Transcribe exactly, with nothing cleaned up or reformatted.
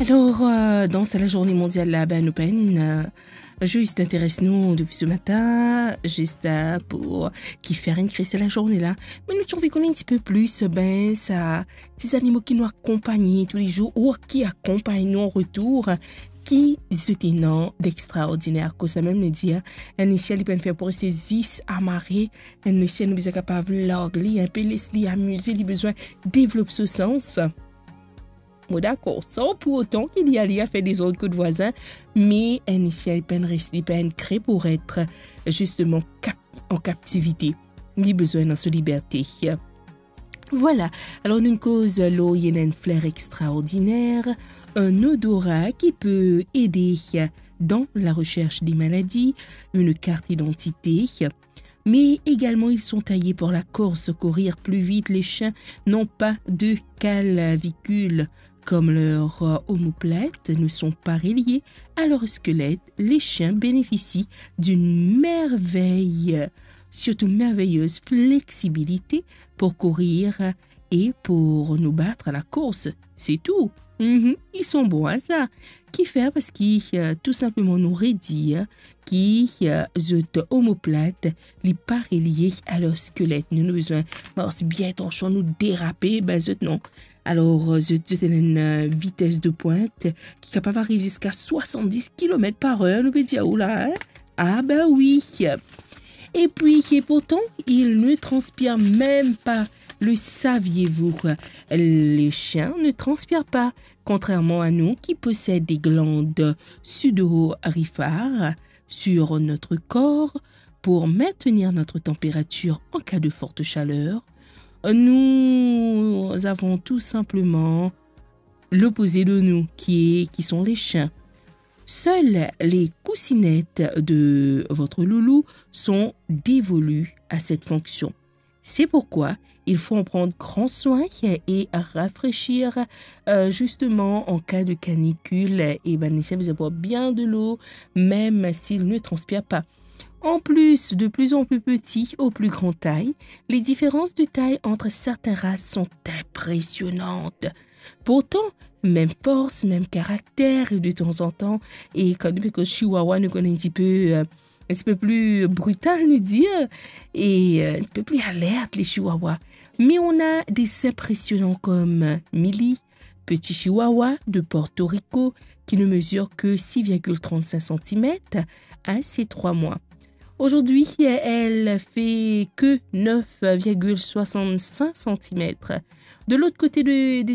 Alor, euh, dan sa lazourne mondial la, be, nou pa'nn, euh, zis interes nou depi se matin, zis, euh, pou ki fer enn kri sa lazourne la. Me nou ti anvi konn enn tipe plis, be, sa, ti zanimo ki nou akonpagn toulezour ou ki akonpagn nou an retour, ki zot ena d'extraordiner. Koumsa mem nou dir, enn isi li pa'nn fer pou reste zis amare, enn isi nou bizin kapav larg li, enpe les li amize, li bizin devlop so sans. Mo dakor, san pou otan ki li ale al fer dezord kot vwazin, me enn isi li pa'nn res, li pa'nn kre pou et zisteman kap-, an kaptivite. Li bizin dan so liberte. Vwala, alor nou koz lor enn fler extraordiner, un odorat qui peut aider dans la recherche des maladies, une carte d'identité, mais également ils sont taillés pour la course, courir plus vite. Les chiens n'ont pas de clavicule comme leurs, euh, omoplates ne sont pas reliées à leur squelette. Les chiens bénéficient d'une merveille, surtout merveilleuse flexibilité pour courir et pour nous battre à la course. C'est tout. Mhm, ils sont bons à ça. Ki fer? Parski, euh, tou sinpleman nou redir ki, euh, zot omoplat, li pa relie a lor skelet. Nou, nou bizin mars bien, atansion, nou derape, be zot non. Alor, euh, zot, zot ena enn, euh, vites de pwint ki kapav ariv ziska swasanndis kilomet par er, nou pe dir, oula, hein? Ah ben oui. Et puis, et pourtant, ils ne transpirent même pas. Le saviez-vous? Les chiens ne transpirent pas, contrairement à nous qui possèdent des glandes sudoriphares sur notre corps pour maintenir notre température en cas de forte chaleur. Nous avons tout simplement l'opposé de nous, qui est, qui sont les chiens. Seules les coussinettes de votre loulou sont dévolues à cette fonction. C'est pourquoi il faut en prendre grand soin et rafraîchir, euh, justement en cas de canicule. Et ben, les chiens, ils boivent bien de l'eau, même s'ils ne transpirent pas. En plus, de plus en plus petits ou plus grande taille, les différences de taille entre certaines races sont impressionnantes. Pourtant, même force, même caractère, et de temps en temps, e kan nou pe koz chihuahua, nou kone enn tipe, euh, enn tipe pli brital, nou dir, e, euh, enn tipe pli alert, le chihuahua. Mais on a des impressionnants comme Mili, petit chihuahua de Porto Rico, qui ne mesure que six virgule trente-cinq centimètres à ses trois mois. Aujourd'hui, elle fait que neuf virgule soixante-cinq centimètres. De l'autre côté de, des